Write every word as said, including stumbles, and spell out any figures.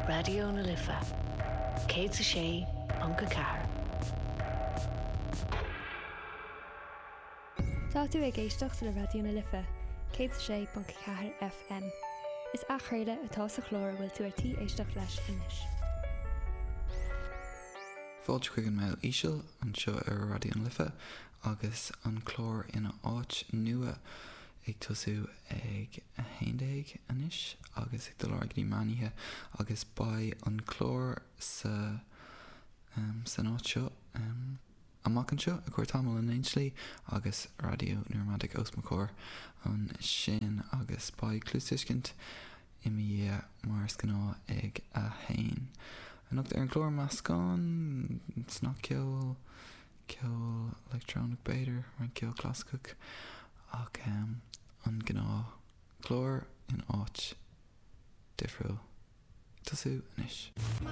Raidió na Life céad a sé ponc a ceathair. Tá tú ag éisteacht le Raidió na Life, céad a sé ponc ceathair FM. Is athchraoladh atá sa chlár a bhfuil tú ar tí éisteacht leis anois. Fáilte chuig an Meitheal Íseal anseo ar Raidió na Life agus an clár ina áit nua ag tosú ag a haon déag anois agus ag dul ar aghaidh go dtí meán oíche agus beidh an clár sa um, san áit seo um, amach anseo i gcomhair tamall in aon slí agus Raidió New Romantic os mo chomhair ansin agus beidh cluastuiscint i mo dhiaidh mar is gnáth ag a haon. Anocht ar an chlár meascán snagcheol, ceol leictreonach b'fhéidir, roinnt ceol clasaiceach ach um, an gnáth chlár in áit difriúil. Tosú anois.